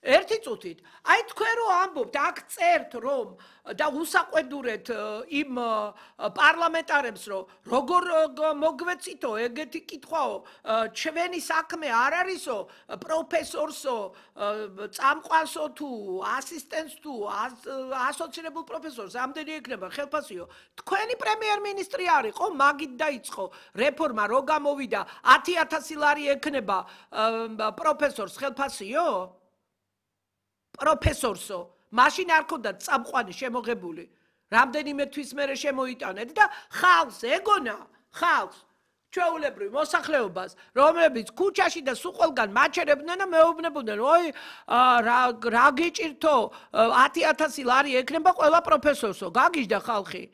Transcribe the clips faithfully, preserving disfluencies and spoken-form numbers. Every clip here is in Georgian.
ერთი წუთით. აი თქვენ რო ამბობთ, აქ წერთ რომ და უსაყვედურეთ იმ პარლამენტარებს რომ როგორ მოგვეცითო ეგეთი კითხვაო, ჩვენი საქმე არ არისო პროფესორსო, წამყვანსო თუ ასისტენტს თუ ასოცირებულ პროფესორს, ამდენი ექნება ხელფასიო. თქვენი პრემიერ-მინისტრი არისო, მაგით დაიწყო რეფორმა, რო გამოვიდა ათი ათასი ლარი ექნება პროფესორს ხელფასიო? პროფესორსო, მაშინ არ ქონდათ წამყვანი შემოღებული. რამდენიმე თვის მერე შემოიტანეთ და ხალხს ეგონა, ხალხს, ჩვეულებრივ მოსახლეობას, რომლებიც ქუჩაში და სულ ყველგან მაჩერებდნენ და მეუბნებოდნენ, ой, რა გიჭირთო, ათი ათასი ლარი ექნება ყველა პროფესორსო, გაგიჟდა ხალხი.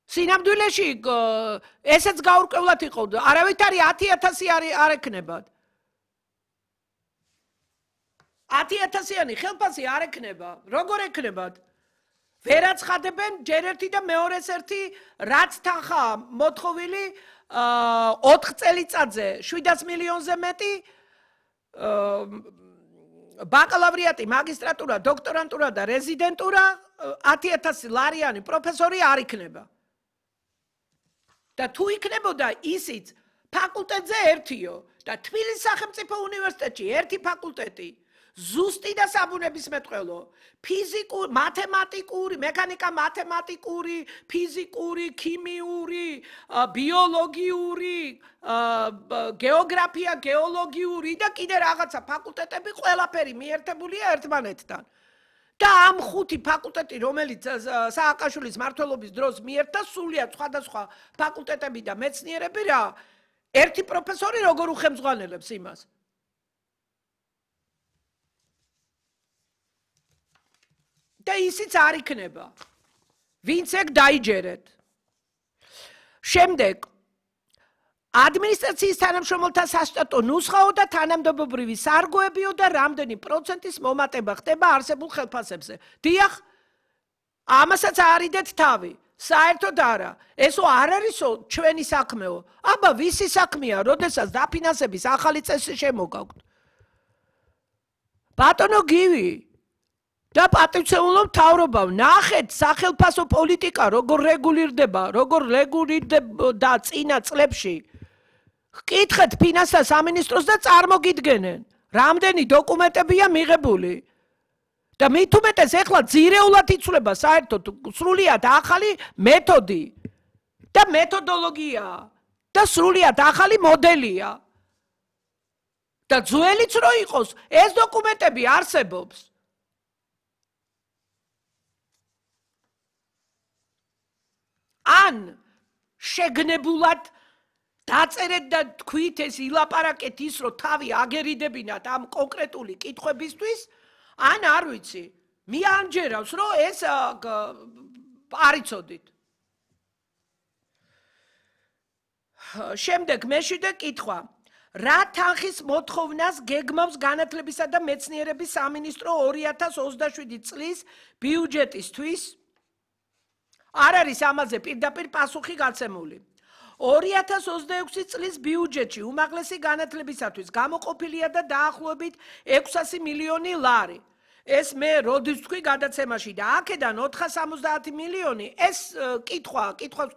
სინამდვილეში ესეც გაურკვევლად იყო, არავით არის ათი ათასი არ ექნებათ. ათი ათასიანი ხელფასი არ ექნება, როგორ ექნებათ? ვერაცხადებენ ჯერ ერთი და მეორეს ერთი რაც თანხა მოთხოვილი ოთხ წელიწადზე შვიდას მილიონზე მეტი ბაკალავრიატი, მაგისტრატურა, დოქტორანტურა და რეზიდენტურა ათი ათასი ლარიანი პროფესორი არ იქნება. და თუ იქნებოდა ისიც ფაკულტეტზე ერთიო და თბილისის სახელმწიფო უნივერსიტეტში ერთი ფაკულტეტი ზუსტი და საბუნებისმეტყველო, ფიზიკური, მათემატიკური, მექანიკა მათემატიკური, ფიზიკური, ქიმიური, ბიოლოგიური, გეოგრაფია, გეოლოგიური და კიდე რაღაცა ფაკულტეტები ყველაფერი მიერთებულია ერთმანეთთან. და ამ ხუთი ფაკულტეტი, რომელიც სააკაშვილის მმართველობის დროს მიერთდა, სულიად სხვადასხვა ფაკულტეტები და მეცნიერები რა, ერთი პროფესორი როგორ უხემძღვანელებს იმას? და ისიც არ იქნება. ვინც ეგ დაიჯერეთ. შემდეგ ადმინისტრაციის თანამშრომელთა სასტატო ნუსხაო და თანამდებობრივი სარგოებიო და რამდენი პროცენტის მომატება ხდება არსებულ ხელფასებზე. დიახ, ამასაც არიდეთ თავი. საერთოდ არა. ესო არ არისო ჩვენი საქმეო. აბა ვისი საქმეა, როდესაც დაფინანსების ახალი წესი შემოგაქვთ. ბატონო გივი და პატივცემულო მთავრობა, ნახეთ სახელფასო პოლიტიკა როგორ რეგულირდება, როგორ რეგულირდება წინა წლებში. გკითხეთ ფინანსთა სამინისტროს და წარმოგიდგენენ, რამდენი დოკუმენტებია მიღებული. და მით უმეტეს ეხლა ძირეულად იცვლება საერთოდ სრულიად ახალი მეთოდი და მეთოდოლოგია და სრულიად ახალი მოდელია. და ძველიც რო იყოს, ეს დოკუმენტები არსებობს. ან შეგნებულად დაწერეთ და თქვით ეს ილაპარაკეთ ის რომ თავი აგერიდებინათ ამ კონკრეტული კითხვებისთვის, ან არ ვიცი, მიანჯერავს რომ ეს არ იცოდით. შემდეგ მეშვიდე კითხვა. რა თანხის მოთხოვნას გეგმავს განათლებისა და მეცნიერების სამინისტრო ორი ათას ოცდაშვიდი წლის ბიუჯეტისთვის? არ არის ამაზე პირდაპირ პასუხი გაცემული. ორი ათას ოცდაექვსი წლის ბიუჯეტში უმაღლესი განათლებისათვის გამოყოფილია და დაახლოებით ექვსასი მილიონი ლარი. ეს მე როდის თქვი გადაცემაში და აქედან ოთხას სამოცდაათი მილიონი, ეს კითხვა, კითხვას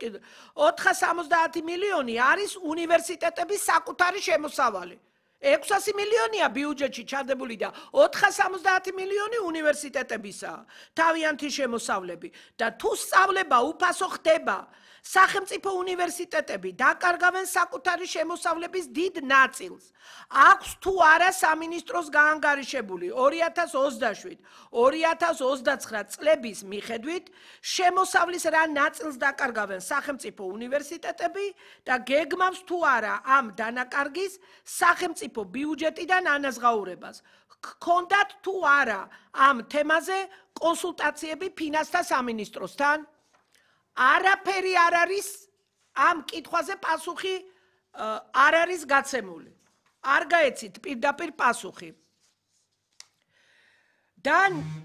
ოთხას სამოცდაათი მილიონი არის უნივერსიტეტების საკუთარი შემოსავალი. ექვსასი მილიონია ბიუჯეტში ჩადებული და ოთხას სამოცდაათი მილიონი უნივერსიტეტებისაა, თავიანთი შემოსავლები. და თუ სწავლება უფასო ხდება, სახელმწიფო უნივერსიტეტები დაკარგავენ საკუთარი შემოსავლების დიდ ნაწილს. აქვს თუ არა სამინისტროს გაანგარიშებული ორი ათას ოცდაშვიდ ორი ათას ოცდაცხრა წლების მიხედვით შემოსავლის რა ნაწილს დაკარგავენ სახელმწიფო უნივერსიტეტები და გეგმავს თუ არა ამ დანაკარგის სახელმწიფო ბიუჯეტიდან ანაზღაურებას. გქონდათ თუ არა ამ თემაზე კონსულტაციები ფინანსთა სამინისტროსთან? არაფერი არ არის ამ კითხვაზე პასუხი არ არის გაცემული. არ გაეცით პირდაპირ პასუხი. და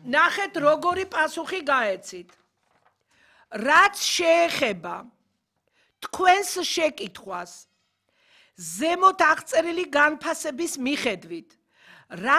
ნახეთ როგორი პასუხი გაეცით. რაც შეეხება თქვენს შეკითხვას ზემოთ აღწერილი განფასების მიხედვით, რა